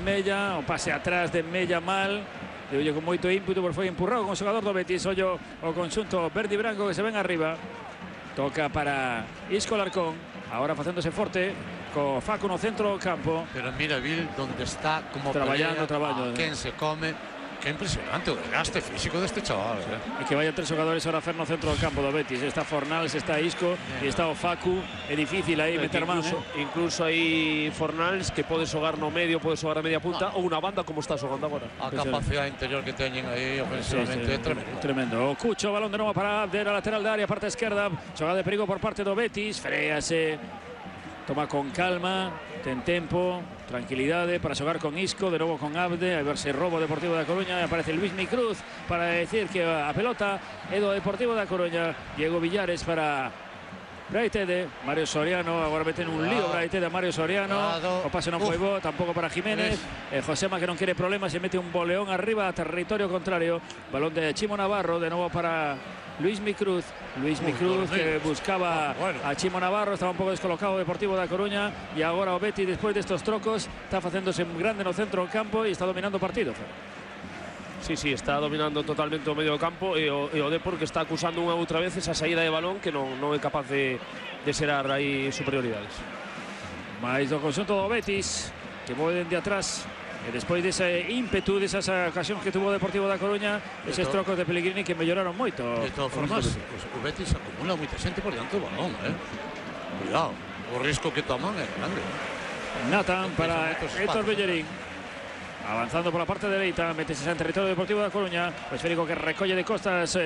Mella, o pase atrás de Mella mal. E oye, con moito ímpetu, por foi empurrado con o xogador do Betis. Ollo o conxunto verde e branco que se ven arriba. Toca para Isco Larcón, agora facéndose forte co Facu no centro do campo. Pero mira Bill donde está, como traballando, a quen se come. Que impresionante o desgaste físico deste chaval. E que vaya tres xogadores ahora a fer no centro do campo do Betis. Está Fornals, está Isco e está o Facu. É difícil aí meter man. Incluso aí Fornals que pode xogar no medio, pode xogar a media punta ou unha banda como está xogando agora. A capacidade interior que teñen aí ofensivamente é tremendo. Tremendo. O Cucho, balón de novo para Abde, a lateral da área, parte esquerda. Xogada de perigo por parte do Betis. Frease. Toma con calma, ten tempo, tranquilidade para xogar con Isco, de novo con Abde, a ver se robo Deportivo da Coruña. Aparece Luismi Cruz para decir que a pelota é do Deportivo da Coruña. Diego Villares para Braitede, Mario Soriano, agora meten un lío Braitede a Mario Soriano. O pase non foi bo, tampouco para Jiménez. Josema, que non quere problemas, se mete un boleón arriba a territorio contrario. Balón de Chimo Navarro, de novo para Luismi Cruz. Luismi Cruz que buscaba a Chimo Navarro, estaba un pouco descolocado o Deportivo da Coruña e agora o Betis, despois destes trocos, está facéndose grande no centro do campo e está dominando o partido. Sí, está dominando totalmente o medio do campo e o Depor que está acusando unha outra vez esa saída de balón que non é capaz de xerar aí superioridades. Mais do conxunto do Betis que voe dende atrás. E despois dese ímpetu, desas ocasións que tuvo o Deportivo da Coruña, eses trocos de Pellegrini que melloraron moito. De todas formas, o Betis acumula moita xente por diante do balón, Cuidado, o risco que toman é grande. Natan para Héctor Bellerín. Avanzando pola parte dereita, metese en territorio Deportivo da Coruña. O esférico que recolle de costas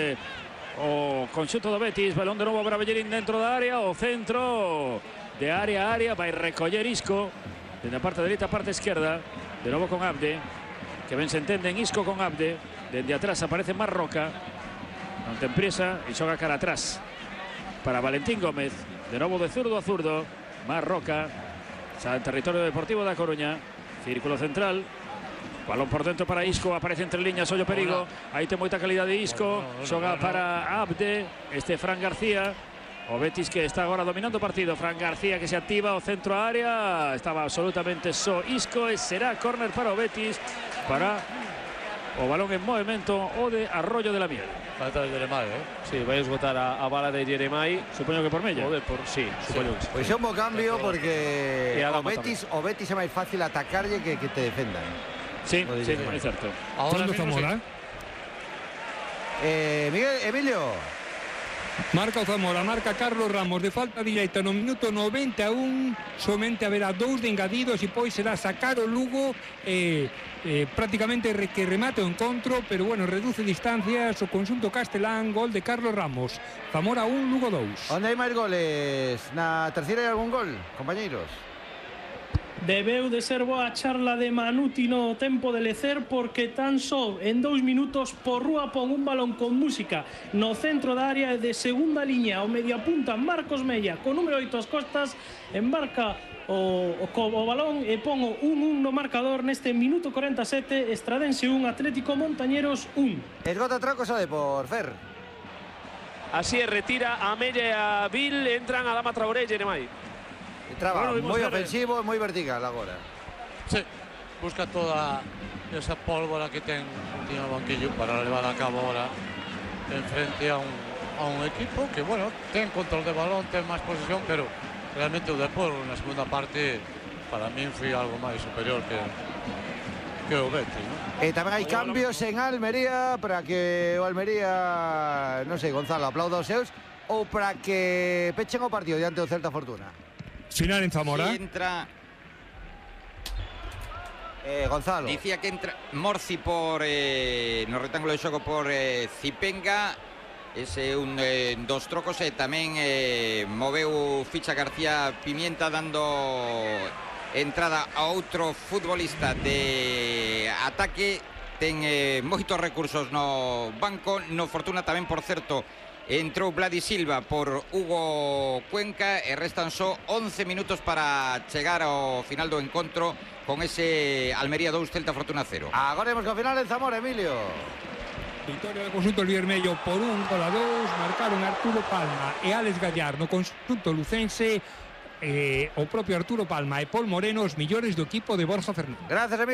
o conxunto do Betis. Balón de novo para Bellerín dentro da área. O centro de área a área. Vai recoller Isco. Dende a parte dereita a parte esquerda. De novo con Abde, que ben se entenden Isco con Abde. Dende atrás aparece Marroca, non ten prisa e xoga cara atrás para Valentín Gómez. De novo de zurdo a zurdo, Marroca, xa en territorio Deportivo da Coruña. Círculo central, balón por dentro para Isco, aparece entre líneas, ollo perigo. Aí ten moita calidade de Isco, xoga para Abde, Fran García. O Betis que está agora dominando o partido. Fran García que se activa o centro a área. Estaba absolutamente só Isco e será córner para o Betis. Para o balón en movimento o de Arroyo de la Miel. Vai estar Jeremai, Sí, vai esgotar a bala de Jeremai. Supoño que por Mella. Sí, supoño que sí. Pois é un bo cambio porque o Betis é máis fácil atacarlle que te defendan. Sí, é certo. Ahora Zamora. Emilio. Marca o Zamora, marca Carlos Ramos de falta directa no minuto 91. Somente haberá 2 de engadidos e pois será sacar o Lugo prácticamente que remate o encontro, pero bueno, reduce distancias o conxunto castelán. Gol de Carlos Ramos. Zamora 1, Lugo 2. Onde hai máis goles? Na terceira hai algún gol, compañeiros? Debeu de ser boa charla de Manuti no tempo de lecer, porque tan só en 2 minutos por rúa pon un balón con música no centro da área de segunda liña. O mediapunta Marcos Mella con número 8 as costas embarca o balón e pon o 1-1 no marcador neste minuto 47. Estradense 1, Atlético Montañeros 1. Esgota trocos a Depor, Fer. Así é, retira a Mella e a Bill, entran a Dama Traoré e Jeremai. Traba moi ofensivo e moi vertical agora. Sí, busca toda esa pólvora que ten no banquillo para levar a cabo ahora en frente a un equipo que, bueno, ten control de balón, ten máis posesión, pero realmente o Depor na segunda parte para min foi algo máis superior que o Betis, ¿no? E tamén hai cambios en Almería para que o Almería, non sei, Gonzalo, aplauda os seus ou para que pechen o partido diante do Celta Fortuna. Final en Zamora. Si entra Gonzalo. Dicía que entra Morci por no rectángulo de xogo por Zipenga. Ese un dos trocos e tamén moveu ficha García Pimienta dando entrada a outro futbolista de ataque. Ten moitos recursos no banco. No Fortuna tamén, por certo, entrou Vladi Silva por Hugo Cuenca e restan só 11 minutos para chegar ao final do encontro con ese Almería 2, Celta Fortuna 0. Agora vemos que ao final en Zamora, Emilio. Victoria do conxunto Vermello por 1-2. Marcaron Arturo Palma e Alex Gallar no conxunto lucense. o propio Arturo Palma e Pol Moreno os millores do equipo de Borja Fernández. Gracias, Emilio.